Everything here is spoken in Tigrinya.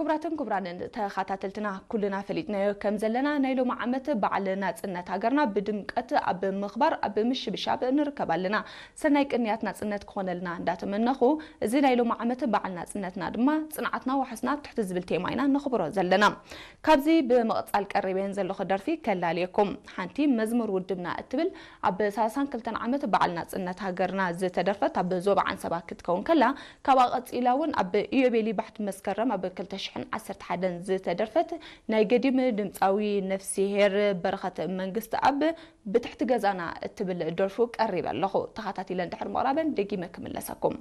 ክቡራትን ክቡራንን ተኸታተልትና፣ ኩልና ፈሊጥናዮ ከም ዘለና፣ ናይ ሎሚ ዓመት በዓል ናጽነት ሃገርና ብድምቀት ኣብ ምኽባር ኣብ ምሽብሻብ ንርከብ ኣለና። ሰናይ ቅንያት ናጽነት ክኾነልና እንዳተመነኹ፣ እዚ ናይ ሎሚ ዓመት በዓል ናጽነትና ድማ ጽንዓትና ዋሕስና ኣብ ትሕቲ ዝብል ቴማ ኢና ነኽብሮ ዘለና። ካብዚ ብምቕጻል ቀሪበን ዘለኹ ደርፊ ከላልየኩም። ሓንቲ መዝሙር ውድብና እትብል ኣብ ሰላሳን ክልተን ዓመት በዓል ናጽነት ሃገርና ዝተደርፈት ኣብ ዞባ ዓንሰባ ክትከውን ከላ፣ ካብኣ ቀጺላ እውን ኣብ ኢዮቤሊ ባሕቲ መስከረም ኣብ ክልተ ሽሕን ዓሰርተ ሓደን ዝተደርፈት ናይ ገዲም ድምጻዊ ነፍስሄር በረኸት መንግስቲ ኣብ ብትሕቲ ገዛና እትብል ደርፉ ቀሪበ ኣለኹ። ተኸታቲለ እንድሕር ምቕራበን ደጊመ ክምለሰኩም።